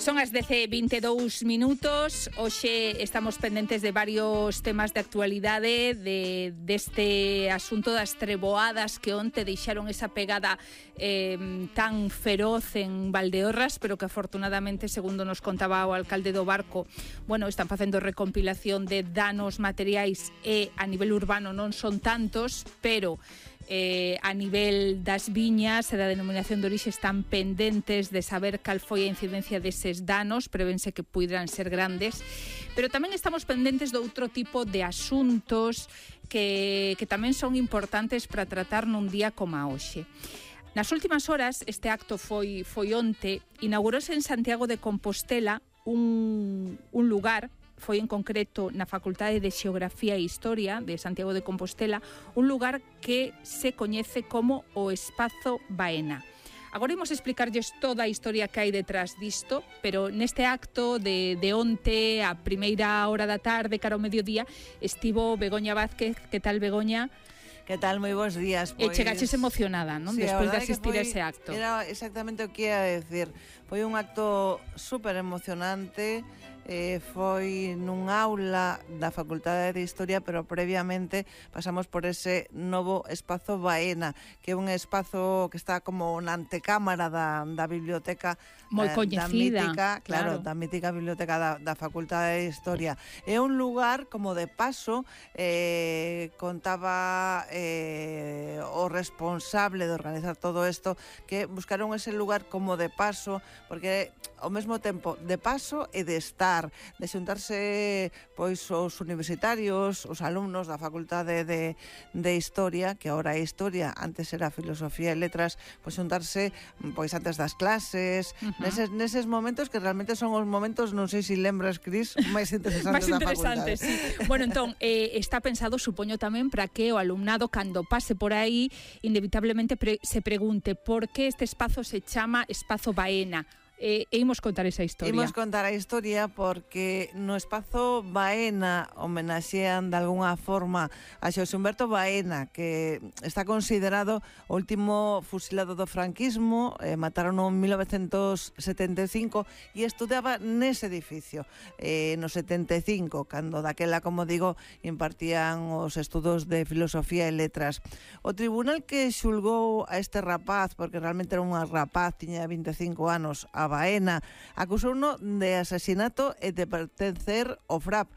Son as 10:22. Hoxe estamos pendentes de varios temas de actualidade deste asunto das treboadas que onte deixaron esa pegada tan feroz en Valdeorras, pero que afortunadamente, segundo nos contaba o alcalde do Barco, bueno, están facendo recompilación de danos materiais e a nivel urbano non son tantos, pero a nivel das viñas e da denominación de orixe están pendentes de saber cal foi a incidencia deses danos, prevense que pudieran ser grandes, pero tamén estamos pendentes de outro tipo de asuntos que tamén son importantes para tratar nun día como a hoxe. Nas últimas horas, este acto foi onte, inaugurouse en Santiago de Compostela un lugar, foi en concreto na Facultade de Xeografía e Historia de Santiago de Compostela, un lugar que se coñece como o Espazo Baena. Agora imos explicarlles toda a historia que hai detrás disto, pero neste acto de onte, a primeira hora da tarde, cara ao mediodía, estivo Begoña Vázquez. Que tal, Begoña? Que tal? Moi bons días. E chegaches emocionada, non? Sí, despois de asistir a ese acto. Era exactamente o que ia decir. Foi un acto super emocionante. Foi nun aula da Facultade de Historia, pero previamente pasamos por ese novo Espazo Baena, que é un espazo que está como na antecámara da biblioteca moi coñecida, da mítica biblioteca da Facultade de Historia. É un lugar como de paso, contaba o responsable de organizar todo isto, que buscaron ese lugar como de paso, porque ao mesmo tempo de paso e de estar, de xuntarse pois os universitarios, os alumnos da Facultade de Historia, que agora é Historia, antes era Filosofía e Letras, pois xuntarse pois antes das clases, neses momentos que realmente son os momentos, non sei se lembras, Cris, máis interesantes da facultade. Sí. Bueno, entón, está pensado, supoño tamén, para que o alumnado, cando pase por aí, inevitablemente se pregunte por que este espazo se chama Espazo Baena. E imos contar esa historia. Imos contar a historia porque no Espazo Baena homenaxean de algunha forma a Xosé Humberto Baena, que está considerado o último fusilado do franquismo, mataron en 1975 e estudaba nese edificio no 75, cando daquela, como digo, impartían os estudos de Filosofía e Letras. O tribunal que xulgou a este rapaz, porque realmente era un rapaz, tiña 25 anos, a Baena, acusouno de asasinato e de pertencer ao FRAP,